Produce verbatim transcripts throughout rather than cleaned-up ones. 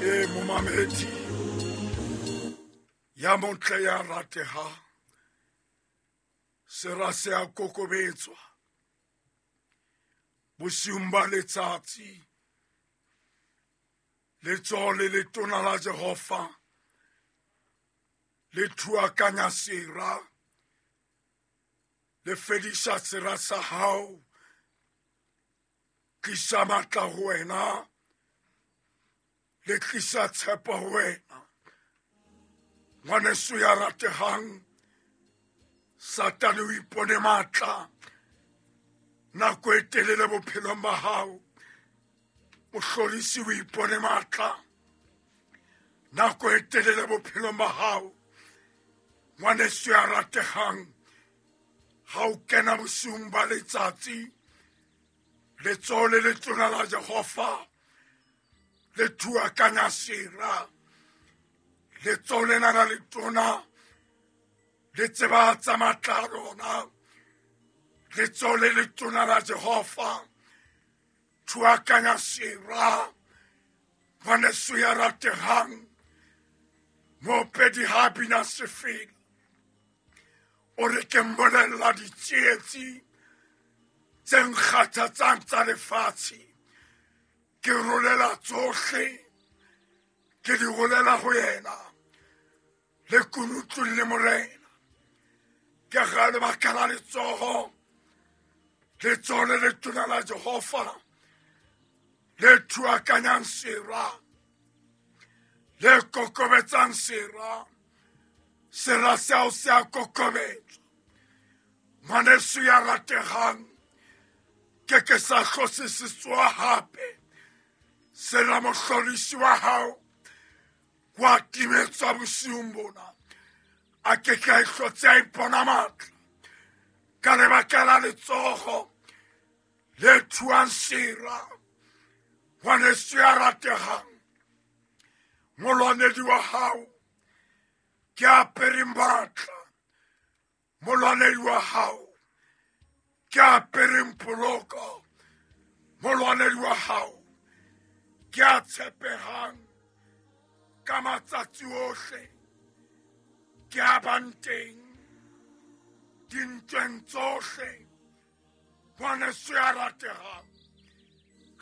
E momamedi ya motle ya rateha, sera se a kokobetswa bosiung ba letsatsi. Letsoho le letona la Jehova le thuakanya sera, le fedisa sera sa hao, tlisa matla ho wena, le tlisa tshepo ho wena. Ngwaneso ya ratehang, Satane o ipone matla nako e telele bophelong ba hao. Mohlorisi o ipone matla nako e telele bophelong ba hao. Ngwaneso ya ratehang, ha o kena bosiung ba letsatsi, letsoho le letona la Jehova le thuakanya sera. Letsoho lena la letona le tsebahatsa matla a lona. Letsoho le letona la Jehova thuakanya sera. Ngwaneso ya ratehang, moopedi ha bina sefela, o re ke mbolella ditsietsi tse nkgathatsang tsa lefatshe, ke rolela tsohle, ke di rolela ho yena, le kunutlung le Morena. Ke ga lebaka la letsoho, letsoho le letona la Jehova le thuakanyang sera, le kokobetsang sera. Sera seo se a kokobetswa. Ngwaneso ya ratehang, ke ke sa hlose se tsoha hape. Sera mohlorisi wa hao wa timetswa bosiung bona, a ke ke a ihlotse a ipona matla ka lebaka la letsoho le thuang sera. Ngwaneso ya ratehang, molwanedi wa hao ke apereng matla, molwanedi wa hao ke apereng poloko, molwanedi wa hao ke a tshepehang ka matsatsi ohle, ke a bang teng dintweng tsohle. Ngwaneso ya ratehang,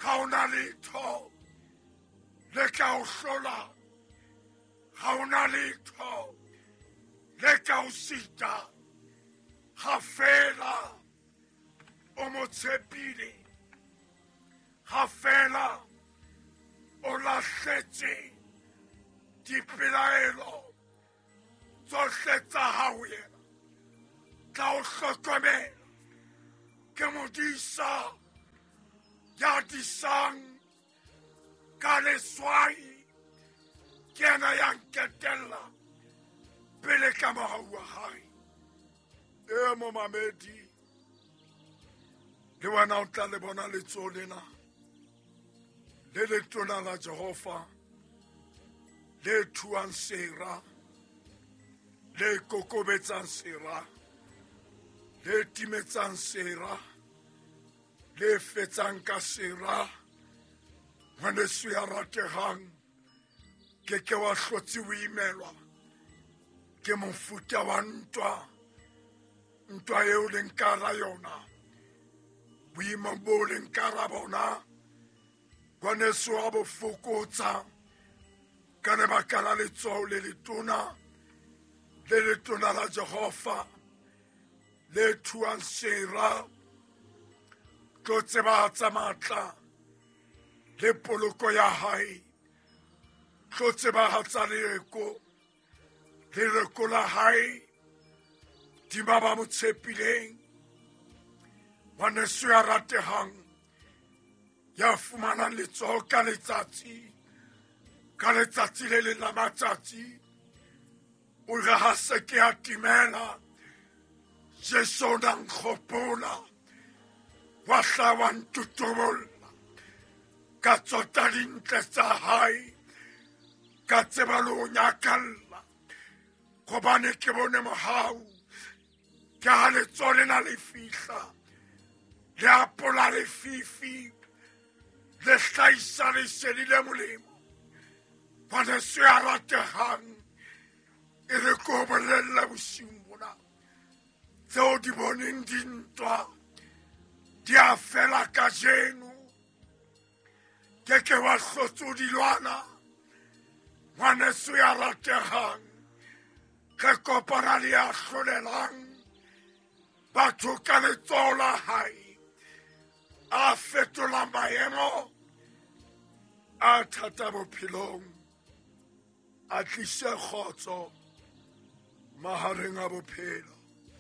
ha o na letho le ka o hlola, ha o na letho le ka o sita, ha fela o mo tshepile, ha fela o lahletse dipelaelo tsohle tsa hao yena, tla o hlokomela. Ke modisa ya disang ka leswai, ke yena ya nketella pele ka mohau wa hae. E momamedi, le wena o tla le bona letsoho lena le letona la Jehova le thuang sera, le kokobetsang sera, le timetsang sera, le fetsang ka sera. Ngwaneso ya ratehang, ke ke wa hlotse o imelwa ke mofuta wa ntwa, ntwa eo leng ka hara yona, boimong bo leng ka hara bona. Ngwaneso wa bo fokotsa ka lebaka la letsoho le letona, le letona la Jehova le thuang sera, tlo tsebahatsa matla le poloko ya hae, tlo tsebahatsa lereko, lereko la hae dima ba mo tshepileng. Ngwaneso ya ratehang, ya fumanang letsoho ka letsatsi, ka letsatsi le leng la matsatsi, o re ha se ke a timela, Jesu o na nkgopola, wa hla wa ntutubolla, ka tsota dintle tsa hae, ka tseba le ho nyakalla, hobane ke bone mohau. Ke ha letsoho lena le fihla, le apola lefifi, le hlahisa lesedi le molemo. Ngwaneso ya ratehang, e re ke o bolelle bosiung bona, tseo di boneng dintwa di a fela kajeno. Ke ke wa hlotse o di lwana. Ngwaneso ya ratehang, re kopana le ya hlolelang batho ka letsoho la hae, a fetola maemo a thata bophelong, a tlise kgotso mahareng a bophelo.